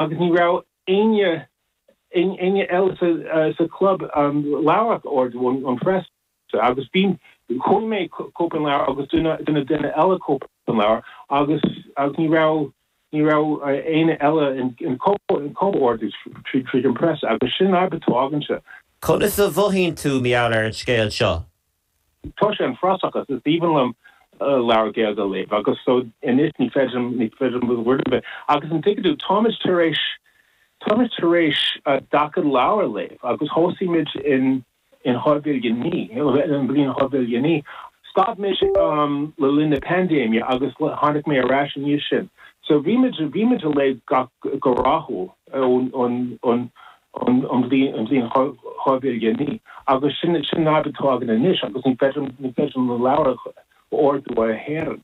Agus ní raibh éinne éinne eile sa sa club leabhar a ordú ón phreas. Agus bhí chuaigh mé cóip an leabhar agus duine duine duine eile cóip an leabhar agus agus ní raibh ní raibh éinne eile in in cóip a ordú tríd tríd an preas agus sin an fhadhb atá againne. Conas a mhothaíonn tú, mar gheall ar an scéal seo? Tá sé an-fhuarach agus is aoibhinn liom leabhar Gaeilge a léamh agus so anois ní féidir liom ní féidir liom rud ar bith agus an dtuigeann tú táimid tar éis táimid tar éis 40 leabhar a léamh agus thosaigh muid in in 2009 an bhliain 2009 stop muid le linn na paindéime agus tháinig mé ar ais i ndiaidh sin so bhí muid bhí muid a léamh gach go rathúil ón ón ón an bhliain 2009 agus sin sin an fhadhb atá againn anois agus ní féidir ní féidir na leabhair a ordú ó Éirinn.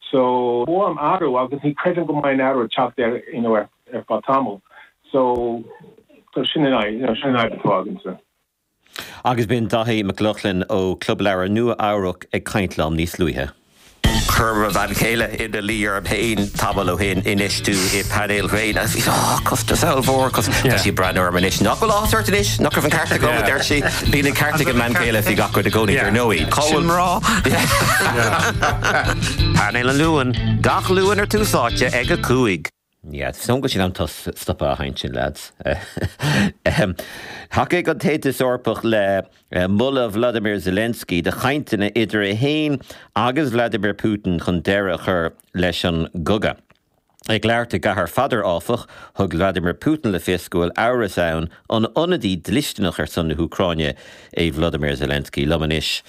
So ba mhaith liom athrú agus ní creidim go mbeidh an athrú ag teacht ar you know ar ar feadh tamall. So so sin an you know sin an fhadhb atá againn. Agus b'in Daithí Mac Lochlainn ó Club Leabhar Nua Eabhrac ag caint liom níos luaithe. Chuir mo bhean chéile ina luí orm féin tamall ó shin, infheistiú i bpainéil ghréine agus bhí ah, costas ollmhór, cos tá sí ag breathnú orm anois. Nach bhfuil áthas ort anois? Nach raibh an ceart agam, a deir sí. Bíonn an ceart ag an mbean chéile faoi gach rud i gcónaí, dar ndóigh. Cá bhfuil mná? Painéal an Luain, gach Luan ar Tús Áite ag 5. Yeah, is dóigh go bhfuil sé in am stopadh a chaint sin, lads. Thacaigh an tAontas Eorpach le moladh Vladimir Zelensky do chainteanna idir é féin agus Vladimir Putin chun deireadh a chur leis an gcogadh. Ag labhairt i gCathair Pheadair, áfach, thug Vladimir Putin le fios go bhfuil amhras ann an ionadaí dlisteanach ar son na hÚcráine é Vladimir Zelensky. Liom anois,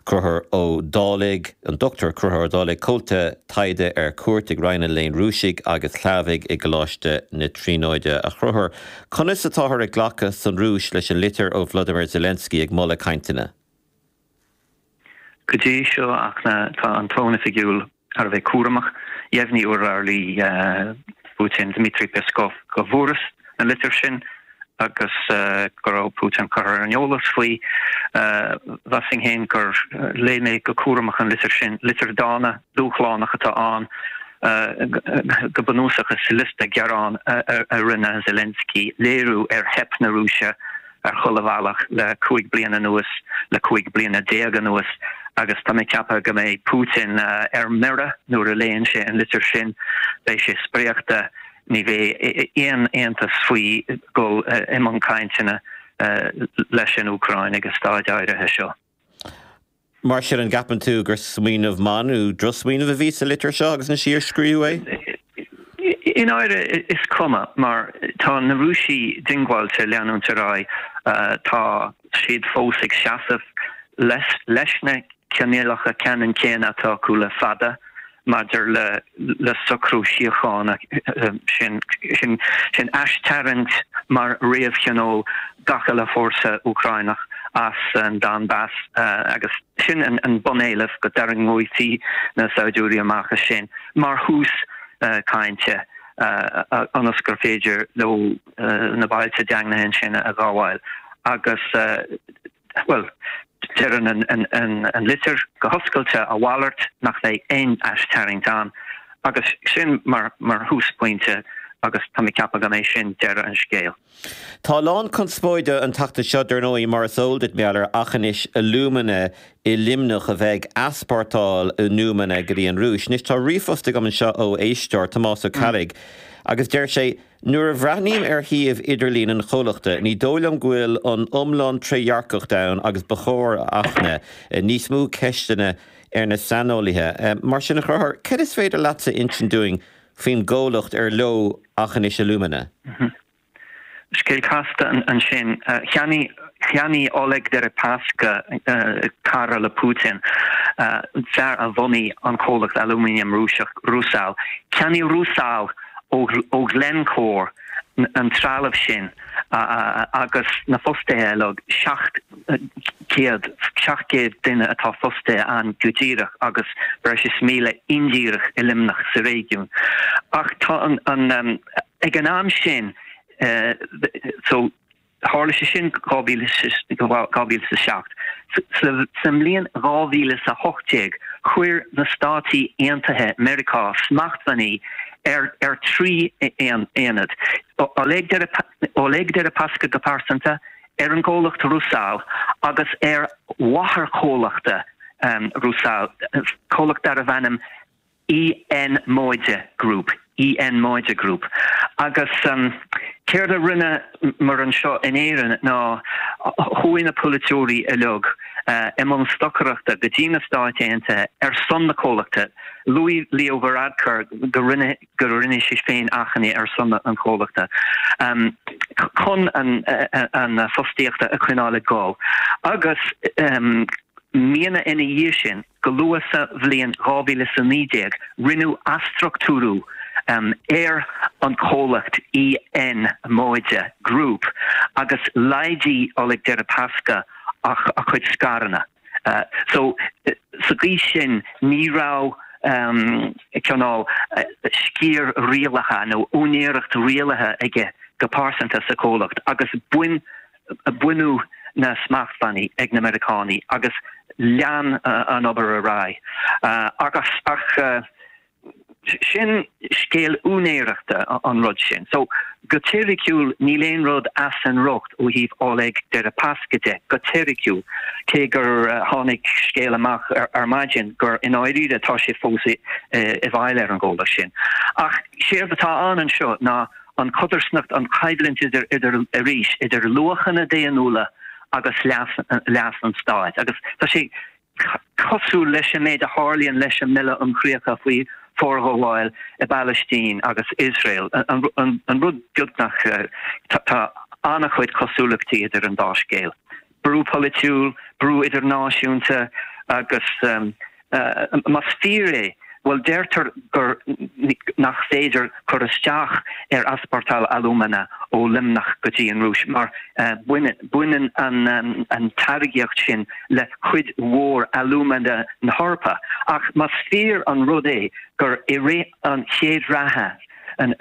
Conchúr Ó Dálaigh, an Dr Conchúr Ó Dálaigh, Comhalta Taighde ar Cuairt ag Roinn an Léinn Rúisigh agus Shlavaigh i gColáiste na Tríonóide. A Chonchúir, conas atáthar ag glacadh san Rúis leis an litir ó Vladimir Zelensky ag moladh cainteanna? Go dtí seo, ach tá an tón oifigiúil thar a bheith cúramach. Dheimhnigh urlabhraí Putin, Dmitry Peskov, go bhfuarthas an litir sin agus go raibh Putin curtha ar an eolas faoi. Mheasfainn féin gur léigh mé go cúramach an litir sin. Litir dána, dúshlánach atá ann. Go bunúsach is liosta gearán a rinne Zelensky, léiriú ar theip na Rúise ar chuile bhealach le 15 bliana anuas, le 15 bliana anuas, agus tá mé ag ceapadh go mbeidh Putin ar mire nuair a léann sé an litir sin. Beidh sé spréachta, ní bheidh aon iontas faoi dhul i mbun cainteanna leis an Úcráin ag an staid áirithe seo. Mar sin, an gceapann tú gur smaoineamh maith nó drochsmaoineamh a bhí sa litir seo agus an slí ar scríobhadh é? I ndáiríre, is cuma, mar tá na Rúisigh diongbháilte leanúint ar aghaidh. Tá siad fós ag seasamh leis na coinníollacha ceannann céanna atá acu le fada. maidir le socrú síochána, sin sin aistarraingt mar réamhchoinníoll gach uile fórsa Úcráineach as an Donbas agus sin an bunéileamh, go dtarraingeofaí na saighdiúirí amach as sin mar thús cainte ionas gur féidir leo na bailte daingnithe ansin a ghabháil agus Bhuel, deireann an litir go hoscailte a mhalairt, nach mbeidh aon aistarraingt ann, agus sin mar thúsphointe agus tá mé ag ceapadh go mbeidh sin deireadh an scéil. Tá a lán conspóide an tseachtain seo, dar ndóigh, mar is eol duit, mar gheall ar Aughinish Alumina i Luimneach a bheith ag easpórtáil alúmana go dtí an Rúis. Anois, tá ríomhphost agam anseo ó éisteoir, Tomás Ó Ceallaigh, agus deir sé, Nuair a bhreathnaím ar shuíomh idirlín an chomhlachta, ní dóigh liom go bhfuil an iomlán trédhearcacht ann agus ba chóir, a Fhachtna, níos mó ceisteanna ar na saineolaithe. Mar sin, a Chonchúir, cad is féidir leatsa insint dúinn faoin gcomhlacht ar leo Aughinish Alumina? Scéal casta ansin. Cheannaigh Cheannaigh Oleg Deripaska, cara le Putin, fear a bhunaigh an comhlacht alúmanaim Rúiseach Rusal, cheannaigh Rusal ó Glencore an trealamh sin agus na fostaithe uilig, 700, 700 duine atá fostaithe ann go díreach agus breis is 1,000 indíreach i Luimneach sa réigiún. Ach tá an, ag an am sin, so, Tharla sé sin 2007. Sa mbliain 2018, chuir na Státaí Aontaithe Meiriceá smachtbhannaí ar 3 aonad, Oleg Deripaska go pearsanta, ar an gcomhlacht Rusal agus ar mháthairchomhlachta Rusal, comhlacht darbh ainm EN Móide Group, EN Móide Group. Agus céard a rinne muid anseo in Éirinn ná chuaigh na polaiteoirí uilig i mbun stocaireachta go dtí na Stáit Aontaithe ar son na comhlachta. Luaigh Leo Varadkar go rinne go rinne sé féin achainí ar son an chomhlachta chun an fostaíochta a choinneáil ag dul agus míonna ina dhiaidh sin, go luath sa bhliain 2019, rinneadh athstruchtúrú ar an chomhlacht EN Móide Group agus laghdaigh Oleg Deripaska a chuid scaireanna. So, sa gcaoi sin, ní raibh cineál sciar rialaithe nó úinéireacht rialaithe aige go pearsanta sa chomhlacht agus baineadh na smachtbhannaí ag na Meiriceánaigh agus lean an obair ar aghaidh. Agus ach sin scéal úinéireachta an rud sin. So, go teoiriciúil níl aon rud as an riocht ó thaobh Oleg Deripaska de, go teoiriciúil, cé gur tháinig scéal amach ar maidin gur i ndáiríre tá sé fós i bhfeighil ar an gcomhlacht sin. Ach séard atá ann anseo ná an chodarsnacht, an choimhlint idir, idir, arís, idir luachanna daonnúla agus leas, leas an stáit. Agus tá sé cosúil leis an méid a tharlaíonn leis an mBille um Chríocha faoi Forghabháil i bPalaistín agus Iosrael, an rud beagnach, tá an-chuid cosúlachtaí idir an dá scéal. Brú polaitiúil, brú idirnáisiúnta agus más fíor é, bhuel deirtear gur nach féidir cur isteach ar easpórtáil alúmana ó Luimneach go dtí an Rúis mar baineann an táirgeacht sin le cuid mhór alúmana na hEorpa. Ach más fíor an rud é gur i rith an chéad ráithe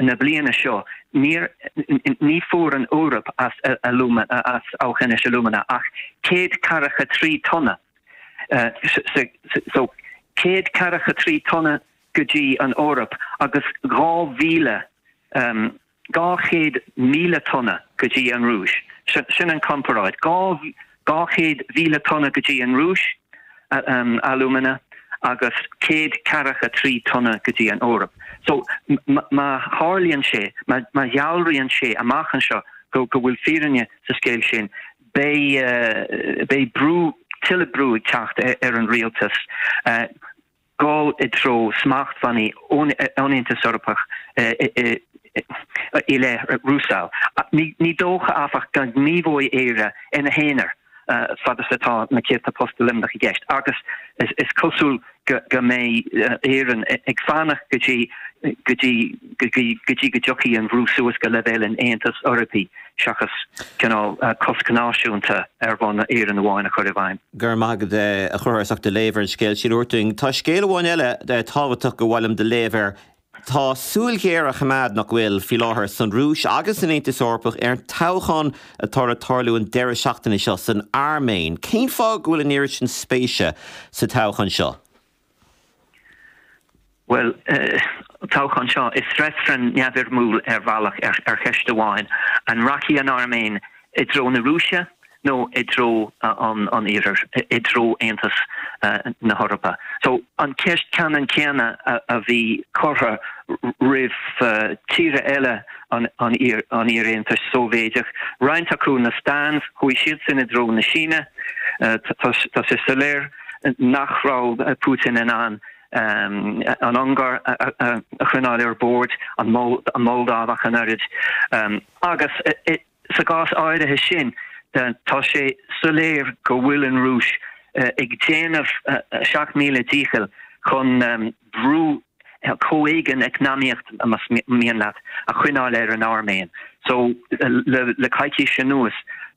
na bliana seo níor ní fuair an Eoraip as as Aughinish Alumina ach 143 tonna so 143 tonna go dtí an Eoraip agus 2,000 200,000 tonna go dtí an Rúis. Sin an comparáid. 200,000 tonna go dtí an Rúis, alúmana, agus 143 tonna go dtí an Eoraip. So, má tharlaíonn sé, má dhealraíonn sé amach anseo go bhfuil fírinne sa scéal sin, beidh, beidh brú, tuilleadh brú ag teacht ar an rialtas. dul i dtreo smachtbhannaí ón Aontas Eorpach i leith Rusal. Ní dócha, áfach, go ngníomhóidh Éire ina haonar fad is atá na céadta post i Luimneach i gceist agus is cosúil go mbeidh Éirinn ag fanacht go dtí go dtí go dtí go dtiocfaidh an bhrú suas go leibhéal an Aontais Eorpaigh seachas cineál cosc náisiúnta ar bhonn Éireann amháin a chur i bhfeidhm. Go raibh maith agat a Chonchúir as ucht do léamh ar an scéal sin a thabhairt dúinn. Tá scéal amháin eile tábhachtach gur mhaith liom do léamh air. Tá súil ghéar á choimeád, nach bhfuil, faoi láthair san Rúis agus san Aontas Eorpach ar an toghchán atá le tarlú an deireadh seachtaine seo san Airméin. Cén fáth go bhfuil an oiread sin spéise sa toghchán seo? Bhuel, an toghchán seo, is reifreann neamhfhoirmiúil ar bhealach ar cheist amháin, an rachaidh an Airméin i dtreo na Rúise nó i dtreo an Iarthair, i dtreo Aontas na hEorpa? So, an ceist ceannann céanna a bhí curtha roimh tíortha eile an iar-Aontais Sóivéidigh, roinnt acu na Stans, chuaigh siadsan i dtreo na Síne, tá sé soiléir nach raibh Putin in ann an Ungáir a choinneáil ar bord, an Mholdáiv ach an oiread. Agus sa gcás áirithe sin, tá sé soiléir go bhfuil an Rúis ag déanamh a 7000 díchill chun brú comhéigean eacnamaíoch, más mian leat, a choinneáil ar an Airméin. So, le coicís anuas,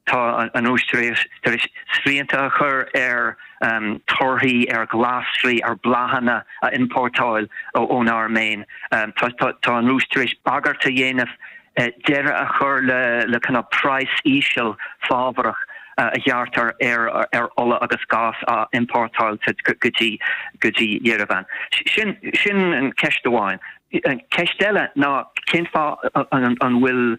tá an Rúis tar éis srianta a chur ar torthaí, ar ghlasraí, ar bhláthanna a iompórtáil ón Airméin. Tá an Rúis tar éis bagairt a dhéanamh deireadh a chur le cineál praghas íseal fábharach. a ghearrtar ar ar ola agus gás a iompórtáiltear go dtí go dtí Yerevan. Sin sin an ceist amháin. An ceist eile ná cén fáth an bhfuil.